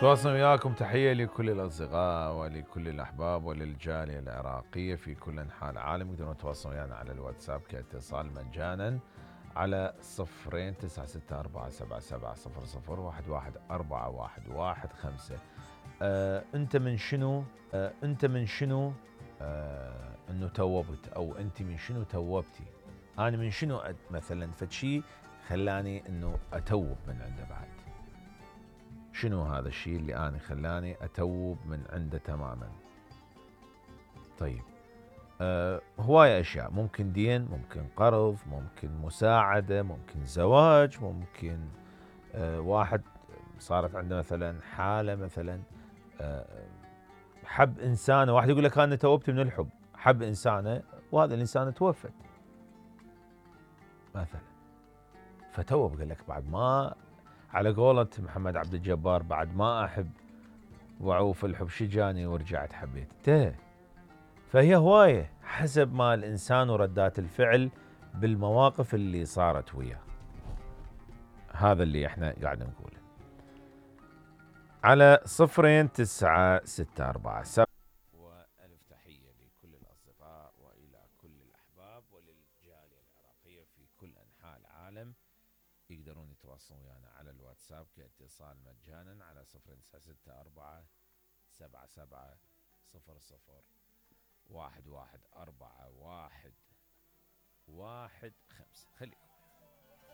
تواصل وياكم. تحية لكل الأصدقاء ولكل الأحباب وللجالية العراقية في كل أنحاء العالم. يقدرون يتواصلون ويانا على الواتساب كاتصال مجانا على 09647700111415. أنت من شنو أنه توبت، أو أنت من شنو توبتي؟ أنا من شنو مثلا فشي خلاني أنه أتوب من عنده بعد؟ شنو هذا الشيء اللي أنا خلاني أتوب من عنده تماما؟ طيب، هواية أشياء، ممكن دين، ممكن قرض، ممكن مساعدة، ممكن زواج، ممكن واحد صارت عنده مثلا حالة، مثلا حب إنسانة، واحد يقول لك أنا توبت من الحب، حب إنسانة وهذا الإنسان توفت مثلا، فتوب، قال لك بعد ما، على قولة محمد عبد الجبار، بعد ما أحب وعوف الحب شجاني ورجعت حبيت. فهي هواية حسب ما الإنسان وردات الفعل بالمواقف اللي صارت وياه. هذا اللي احنا قاعد نقوله على 09647. وألف تحية لكل الأصدقاء وإلى كل الأحباب وللجالية العراقية في كل أنحاء العالم. يقدرون يتواصلون ويانا على الواتساب كاتصال مجانا على 09647700111415. خليكم